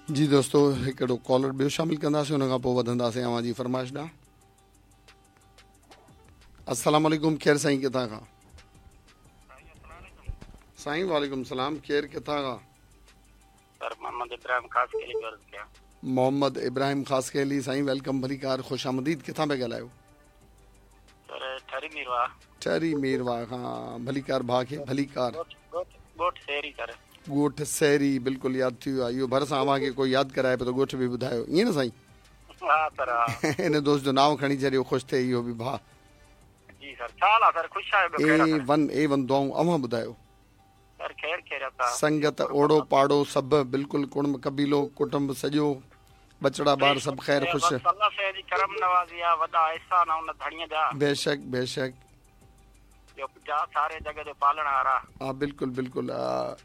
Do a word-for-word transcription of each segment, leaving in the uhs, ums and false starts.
जी दोस्तो, हिकिड़ो कॉलर ॿियो शामिल कंदासीं, उन खां पोइ वधंदासीं अव्हां जी फरमाइश ॾांहुं। अस्सलाम वालेकुम, केरु साईं किथां खां? साईं वालेकुम सलाम, केरु किथां खां? सर मोहम्मद इब्राहिम खासखेली पियो अर्ज़ कयां। मोहम्मद इब्राहिम खासखेली साईं welcome, भलीकार, ख़ुशि आमदीद। किथां पिया ॻाल्हायो? सर ठरी मीरवाह। ठरी मीरवाह खां, भलीकार भाउ खे भलीकार। ॻोठ सहरी सर। ॻोठ सहरी, बिल्कुलु यादि थी वियो आहे। इहो भरिसां अव्हांखे कोई यादि कराए पियो त ॻोठ बि ॿुधायो, ईअं न साईं? हा सर हा। हिन दोस्त जो नांव खणी छॾियो, ख़ुशि थिए इहो बि भाउ। जी सर, छा हाल आहे सर? ख़ुशि आहियो? ॿियो ए वन ए वन दुआऊं, अव्हां ॿुधायो? सर ख़ैर ख़ैरियत आहे। संगत ओड़ो पाड़ो सभु बिल्कुलु, कुणुंब कबीलो कुटुंब सॼो, बचड़ा ॿार सभु ख़ैर ख़ुशि। अल्लाह साईं जी करम नवाज़ी आहे, वॾा एहसान आहे उन धणीअ जा। बेशक बेशक, जो जा सारे जग जो पालणहार आहे। हा बिल्कुलु बिल्कुलु,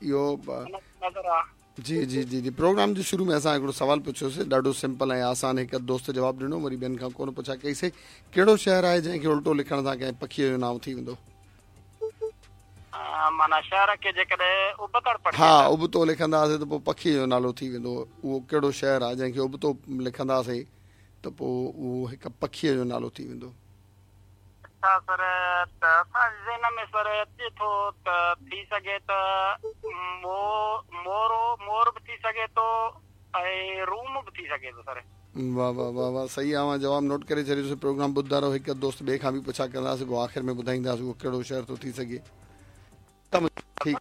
इहो नज़र आहे। जी जी जी जी। प्रोग्राम जे शुरू में असां हिकिड़ो सवाल पुछियोसीं, ॾाढो सिंपल ऐं आसान, हिकु दोस्त जवाबु ॾिनो, वरी ॿियनि खां कोन पुछा कईसीं। कहिड़ो शहर आहे जंहिंखे उल्टो लिखण सां कंहिं पखीअ जो नांव थी वेंदो? माना शहर खे जेकॾहिं उबतड़ पढ़िजे। हा, उबतो लिखंदासीं त पोइ पखीअ जो नालो थी वेंदो। उहो कहिड़ो शहर आहे जंहिंखे उबतो लिखंदासीं त पोइ उहो हिकु पखीअ जो नालो थी वेंदो? अच्छा सर, त असांजे ज़हन में सर अचे थो त थी सघे त मो मोरो मोर बि थी सघे थो ऐं रूम बि थी सघे थो सर। वाह वाह वाह वाह, सही आहे। जवाबु नोट करे छॾियोसीं। प्रोग्राम ॿुधंदा रहो, हिकु दोस्त ॿिए खां बि पुछा कंदासीं, पोइ आख़िर में ॿुधाईंदासीं उहो कहिड़ो शहर थो थी सघे। ठीक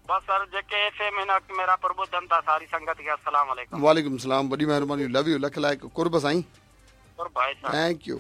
बस सर, जेके एफ एम हिन वक़्तु मेरा पर ॿुधनि था सारी संगत खे अस्सलाम वालेकुम। वालेकुम सलाम, वॾी महिरबानी, लव you, लख लाइक़, कुर्ब साईं। कुर्ब भाई साहब, thank you.